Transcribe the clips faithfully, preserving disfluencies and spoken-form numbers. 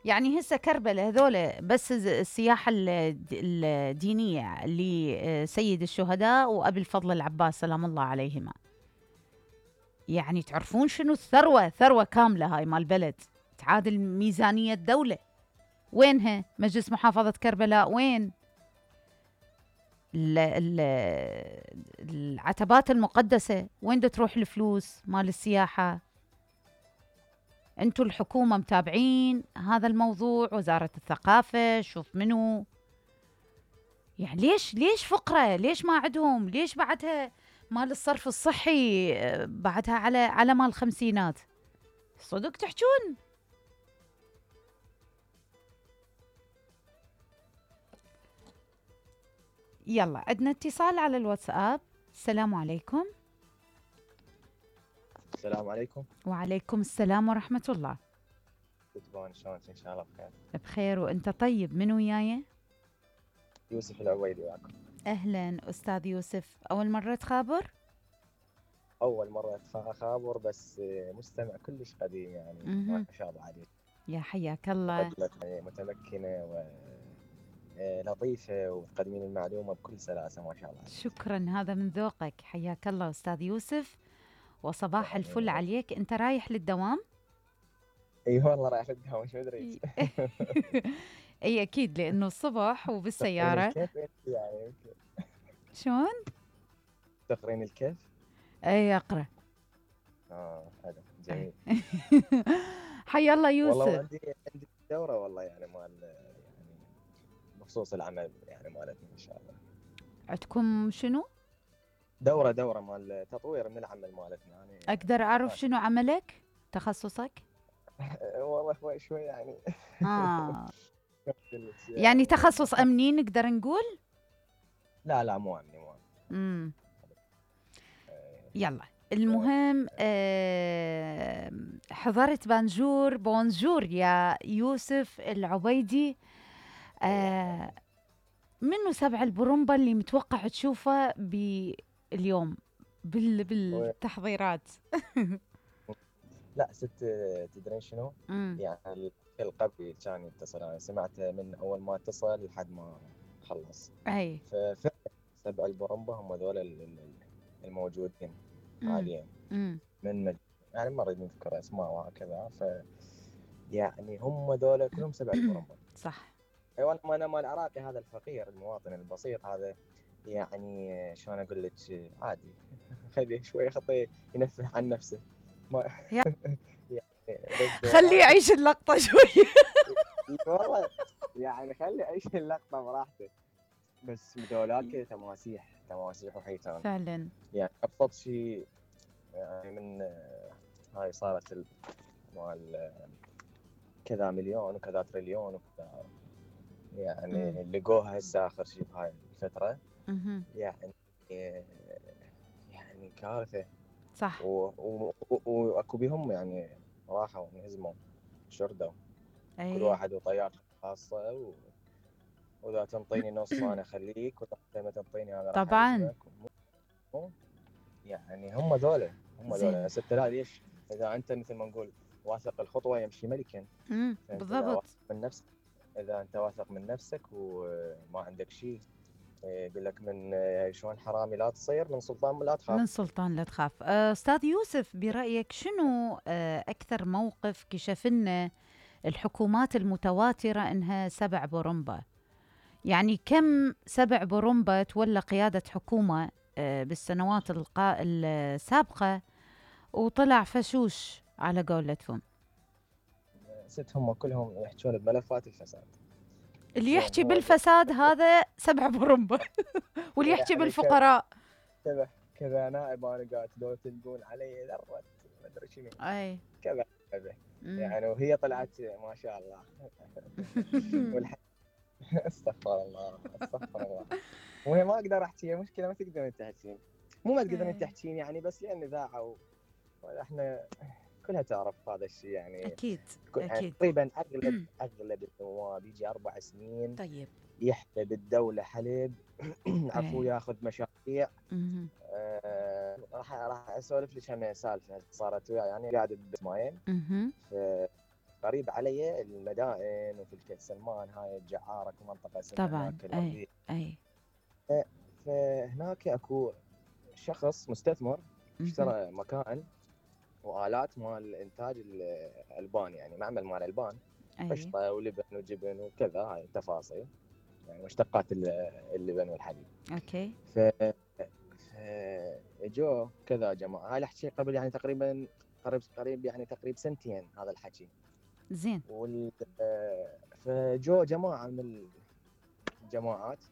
يعني هسه كربلاء هذول بس الز- السياحة الد- الدينية لسيد الشهداء وأبي الفضل العباس سلام الله عليهما. يعني تعرفون شنو الثروة، ثروة كاملة هاي مال بلد تعادل ميزانية دولة. وينها مجلس محافظة كربلاء؟ وين ال- ال- العتبات المقدسة؟ وين دا تروح الفلوس مال السياحة؟ انتوا الحكومة متابعين هذا الموضوع، وزارة الثقافة شوف منو. يعني ليش ليش فقرة؟ ليش ما عندهم؟ ليش بعدها مال الصرف الصحي آه، بعدها على على مال الخمسينات؟ صدق تحجون. يلا عندنا اتصال على الواتساب. السلام عليكم. السلام عليكم. وعليكم السلام ورحمة الله. تتبون شلونك؟ ان شاء الله بخير. بخير وانت طيب. من وياي؟ يوسف العويلي وياكم. اهلا استاذ يوسف، اول مرة تخابر؟ اول مرة اخابر بس مستمع كلش قديم يعني ما مهم. شاء الله عليك. يا حياك الله. مقدمة متمكنة ولطيفة وتقدمين المعلومة بكل سلاسة ما شاء الله عليك. شكرا، هذا من ذوقك. حياك الله استاذ يوسف، وصباح يعني الفل عليك. انت رايح للدوام؟ اي والله رايح الدوام ايش مدري. اي اكيد لانه الصبح تقرين وبالسيارة. الكيف يعني يمكن. شلون؟ تقرين الكيف؟ اي اقرا. اه حلو جميل. حيا الله والله يوسف. عندي عندي دورة والله يعني مال يعني بخصوص العمل يعني مالتنا ان شاء الله. عندكم شنو؟ دورة دورة مال تطوير من العمل مالتنا يعني. اقدر اعرف شنو عملك؟ تخصصك؟ والله شوي شوي يعني. اه يعني يعني تخصص امني نقدر نقول؟ لا لا مو امني مو امني. امم يلا المهم آه حضرت بانجور بونجور يا يوسف العبيدي. آه منو سبع البرمبة اللي متوقع تشوفه باليوم بال بالتحضيرات؟ لا ست تدرين شنو؟ امم يعني القبل كان يتصل انا سمعته من اول ما اتصل لحد ما خلص. اي ففعلا سبع البرمبة هم ذول ال- ال- الموجودين حاليا امم من مج... يعني ما نريد نذكر اسماء وهكذا. ف يعني هم ذول كلهم سبع البرمبة. صح. ايوه انا مال العراقي هذا الفقير المواطن البسيط هذا يعني شلون اقول لك عادي. خليه شوي خطيه ينفه عن نفسه. ما يا يعني بس خليه يعيش اللقطة شوي. والله يعني خلي يعيش اللقطه براحته. بس ذولاك تماسيح تماسيح وحيتان فعلا. يعني ابسط شيء يعني من هاي صارت ال- مال كذا مليون وكذا تريليون وكذا يعني لقوها هسه اخر شيء بهاي الفتره مهم. يعني يعني كارثه. صح. و- و- و- واكو بهم يعني راحوا انهزموا شردوا كل اي واحد وطيارته الخاصه و... واذا تنطيني نص انا اخليك واذا ما تنطيني انا راح طبعا. اهزمك. مو- يعني هم ذولا هم ذولا زين. هسه انت لا ليش اذا انت مثل ما نقول واثق الخطوه يمشي ملكا. امم فانت اذا بالضبط. واثق من نفسك اذا انت واثق من نفسك وما عندك شيء يقول لك من شلون حرامي لا تصير من سلطان لا تخاف. من سلطان لا تخاف. آه، أستاذ يوسف برأيك شنو آه، أكثر موقف كشف لنا الحكومات المتواترة إنها سبع برمبة؟ يعني كم سبع برمبة تولى قيادة حكومة آه، بالسنوات القا... السابقة وطلع فشوش على قولتهم؟ ست هم كلهم يحجون بملفات الفساد. اللي زين يحكي هو بالفساد هذا سبع برمبة. واللي يحكي يعني بالفقراء كذا كذا نائب انا قاعد لو تلقون علي ذره ما ادري شنو أي كذا كذا مم. يعني وهي طلعت ما شاء الله. والح... استغفر الله استغفر الله. وهي ما اقدر احكي مشكله ما تقدرين تحكين مو ما تقدرين إيه. تحكين يعني بس لان اذاعه واحنا كلها تعرف هذا الشيء يعني أكيد كل- يعني أكيد. تقريبا اغلب اغلب النواب يجي اربع سنين طيب. يحلب الدوله حلب عفوا إيه. ياخذ مشاريع. مهم. آه، راح راح اسولف لك عن سالفه صارت وياي يعني قاعد باسماعيل مهم. في قريب علي المدائن وفي الكيت سلمان هاي الجعارة منطقة اسمها طبعا هناك اي الأرضية. اي فهناك اكو شخص مستثمر مهم. اشترى مكان والات مال انتاج الالبان، يعني معمل مال البان، اي قشطه ولبن وجبن وكذا، هاي تفاصيل يعني مشتقات ال- اللبن والحليب. اوكي ف ف- جو كذا جماعه، هاي الحكي قبل يعني تقريبا قريب قريب يعني تقريبا سنتين هذا الحكي. زين وال فجو جماعه من الجماعات،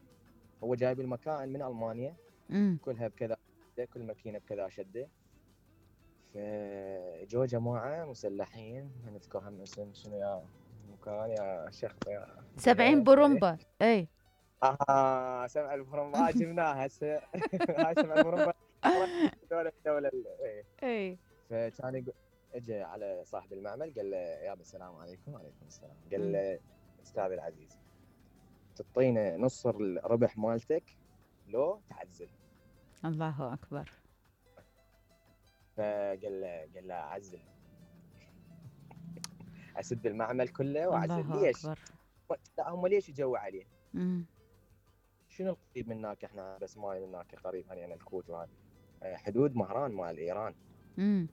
هو جايب المكان من المانيا امم كلها بكذا، كل ماكينه بكذا شده. فجو جماعه مسلحين، ما نذكر هم اسم شنو يا مكان يا شيخ يا سبعين برمبة اي اها سبع البرمبة هاي جبناها هسه. هاي سبع البرمبة دولة الدولة ايه. اي فكان يقول، اجى على صاحب المعمل قال له يابا السلام عليكم. وعليكم السلام. قال مم. له استاذ العزيز، تعطينا نص الربح مالتك لو تعزل؟ الله اكبر. فقال له قال له اعزل، اسد المعمل كله واعزل. الله ليش؟ اكبر. لا هم ليش يجوا عليه؟ امم شنو القريب من هناك؟ احنا بس ماي من هناك قريب يعني الكويت وهذا حدود مهران مال ايران. امم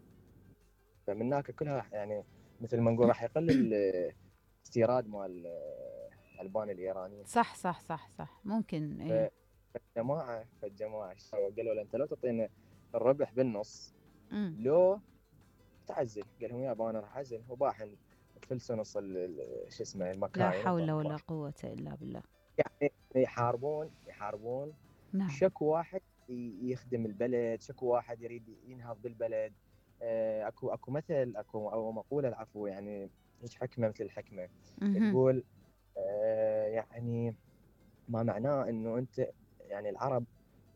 فمن هناك كلها يعني مثل ما نقول راح يقل الاستيراد مال الالبان الايرانيين. صح صح صح صح ممكن اي. فالجماعه فالجماعه قالوا له انت لو تعطينا الربح بالنص امم لو تعزل. قال لهم يابا انا راح اعزل. وباحن فلسوا نص ال- شو اسمه لا المكاين حول وباح. ولا قوة الا بالله. يعني يحاربون يحاربون نعم شكو واحد ي- يخدم البلد، شكو واحد يريد ينهض بالبلد. آه، اكو اكو مثل اكو او مقوله العفو، يعني هيك حكمه مثل الحكمه مهم. تقول آه، يعني ما معناه انه انت يعني العرب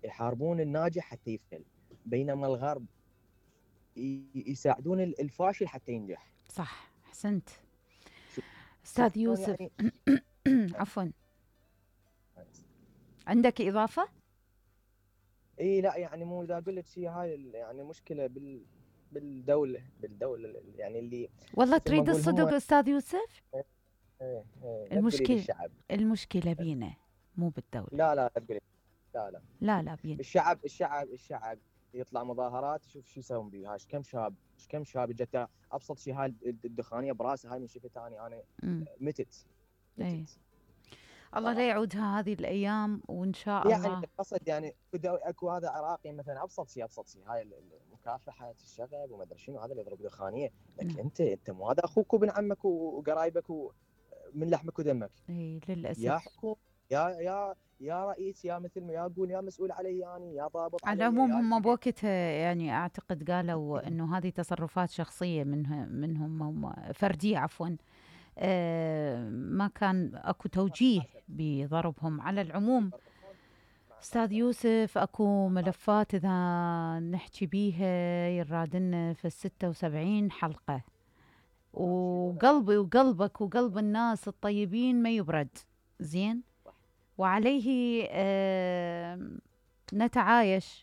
يحاربون الناجح حتى يفشل، بينما الغرب ي- يساعدون الفاشل حتى ينجح. صح احسنت شوف استاذ شلون يوسف. يعني. عفوا عندك اضافة؟ اي لا يعني مو اذا اقول لك شيء، هاي ال- يعني مشكله بال بالدوله بالدوله يعني اللي والله مثل ما تريد نقول هم. الصدق استاذ يوسف؟ ايه ايه لا تقولي لي المشكلة الشعب. المشكلة بينا مو بالدولة. لا لا لا تقولي، لا لا لا لا بينا. الشعب الشعب الشعب يطلع مظاهرات، شوف شو يسوون بيها. ايش كم شاب ايش كم شاب اجت ابسط شيء، هاي الدخانيه براسها هاي من شفت اني انا امم متت اي متت الله لا يعودها هذه الايام وان شاء يعني الله. القصد يعني اكو اكو هذا عراقي مثلا ابسط شيء ابسط شيء هاي مكافحه الشغب وما ادري شنو، هذا اللي يضرب دخانيه. لكن نعم. انت انت مو هذا اخوك وابن عمك وقرايبك ومن لحمك ودمك. اي يا للاسف. حكومه، يا يا يا رئيس، يا مثل ما يا اقول يا مسؤول علي يعني، يا ضابط على علي العموم يا هم جهه. بوقتها يعني اعتقد قالوا انه هذه تصرفات شخصيه منها منهم هم فرديه عفوا. آه ما كان اكو توجيه حسب بضربهم. على العموم يبرطون مع مع استاذ يوسف اكو ملفات اذا نحكي بيها يرادنا في الستة وسبعين حلقه، وقلبي وقلبك وقلب الناس الطيبين ما يبرد. زين صح. وعليه آه نتعايش